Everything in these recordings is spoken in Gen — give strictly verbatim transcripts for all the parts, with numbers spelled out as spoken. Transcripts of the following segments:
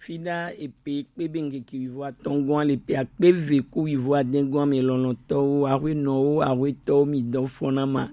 Fida epe kpe be ŋkeke wivo atɔngɔn le pe akpe ve ku wivo adɛngɔn me lɔlɔtɔwo, ahwenɔwo, ahwetɔwo, mi dɔ fɔna ma.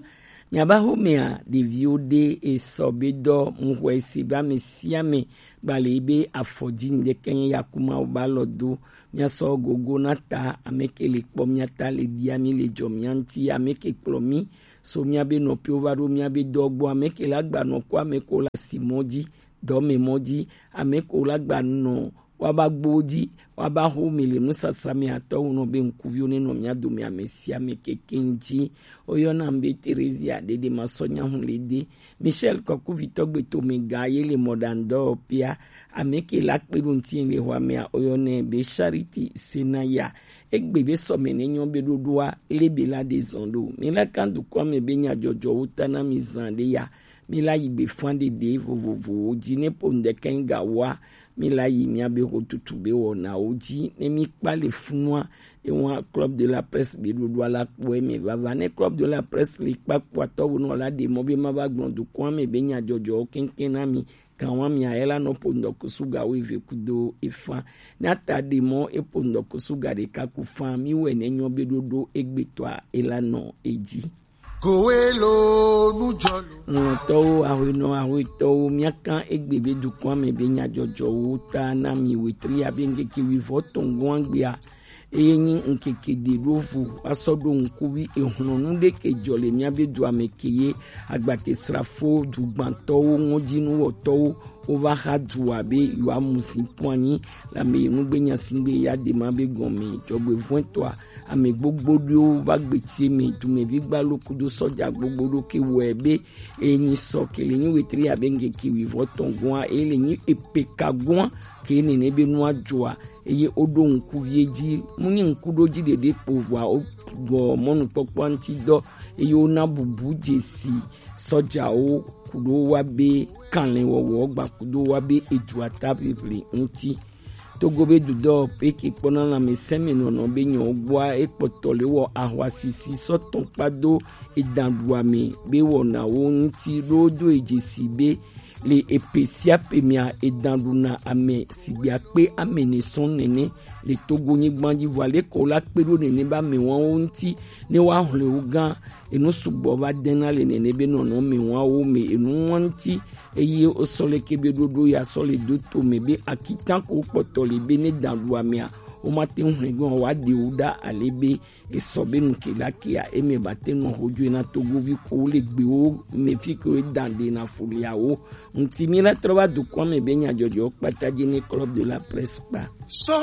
Miaba xomea, ɖeviwo ɖe esɔ be dɔ mu xɔ ese be ame sia ame gba le yi be afɔ dzi ŋdɛkɛ nye yakuma wo ba lɔ do. Miasɔ gogo na ta ame ke le kpɔ mia ta le ɖia mi le dzɔ mia ŋti ame ke kplɔ mi so mia be nɔpiwo va ɖo mia be dɔ gbɔ ame ke la gba nɔ ko ame ko la si mɔ dzi dɔme mɔ dzi ame ko la gba nɔ wa ba gbo dzi wa ba xo mi le nusasa mi atɔ wo nɔ be ŋkuviwo ne nɔ mia dome ame sia ame keke ŋti. Oyɔna mi be Teresia ɖeɖe ma sɔ nya hu le de. Michel Kɔkuvitɔ gbeto me ga ye le mɔɖaŋdɔ pia ame ke la kpe ɖo ŋti le xɔ amea oyɔnɛ be Charity Senaya. Egbe be sɔme ne nyɔ be ɖoɖoa le be la de zɔn ɖo. Mi la kan dukɔ me be nya jɔjɔwo ta na mi zan ɖe ya. Mi la yi gbe fan ɖeɖe vovovowo dzi ne po ŋdɛkɛ ga wa. Mi la yi mia be xo tutu be wɔnawo dzi ne mi kpa le funua. Ewa Club de la Presse be ɖoɖoa la kpɔe me vava ne Club de la Presse le kpa kpɔatɔ wo nɔ la ɖe mɔ be ma va gblɔ dukɔa me be nya jɔjɔwo kɛnkɛn na mi. Kan wa mi ayɛ la nɔ po ŋdɔkusu ga wo eve kudo efa. Na ta ɖe mɔ e po ŋdɔkusu ga ɖeka ku fa mi wɛ ne nyɔ be ɖoɖo egbetɔa e la nɔ edzi. Kowe lo nujɔlo. Ŋlɔtɔwo, ahwenɔ, ahwetɔwo, miakan egbe be dukɔa me be nya jɔjɔwo ta na mi wetri abe ŋkeke wivɔ tɔngɔn gbea. Eye nyi ŋkeke ɖe ɖo vo asɔ ɖo ŋkuvi ehlɔnu ɖe ke jɔ le mia be dua me ke ye agbate srafo dugbantɔwo ŋɔdzinuwɔtɔwo wova xa dua be yewoamu si kpɔ anyi le ame yi nugbe nya si gbe ya de ma be gɔme dzɔgbevɔ̃etɔa ame gbogbo ɖewo va gbetsi me dumevi gbalo kudo sɔdza gbogbo ɖo ke wɔe be enyi sɔ ke le nyi wetri abe ŋkeke wivɔ tɔn gɔa e le nyi epeka gɔa ke nene be nua dzɔa eye woɖo ŋku vie dzi mu nyi ŋku ɖo dzi ɖeɖe kpo vɔa wogɔ mɔnukpɔkpɔ ŋti dɔ eye wona bubu dzesi sɔdzawo kuɖo wa be kanlɛwɔwɔ gba kuɖo wa be edua ta ʋiʋli ŋti. Togo be dudɔ peke kpɔna lãmesẽmenɔnɔ be nyɔgbɔa ekpɔtɔ le wɔ ahwasisi sɔtɔn kpado edanɖuame be wɔnawo ŋti ɖo do edzesi be le epe sia pe mea edanɖuna ame sigbe akpe ame ne sɔn nene le Togo nyigban dzi vɔ ale ko la kpe ɖo nene be amewawo ŋti ne wa hlɔe wo gã enu sugbɔ va dena le nene be nɔnɔ amewawo me enu ŋti eye wosɔ le ke be ɖoɖo ya sɔ le do to me be akitan ko kpɔtɔ le be ne danɖuamea womate ŋu hlɔe gã wa ɖe wo ɖa ale be esɔ be nu ke la kea eme bate nɔ xojoe na Togovi ko le gbewo me fi ke wo dan ɖe na foliawo ŋti mi la trɔ va dukɔa me be nyadzɔdzɔ kpata dzi ne Club de la Presse kpa.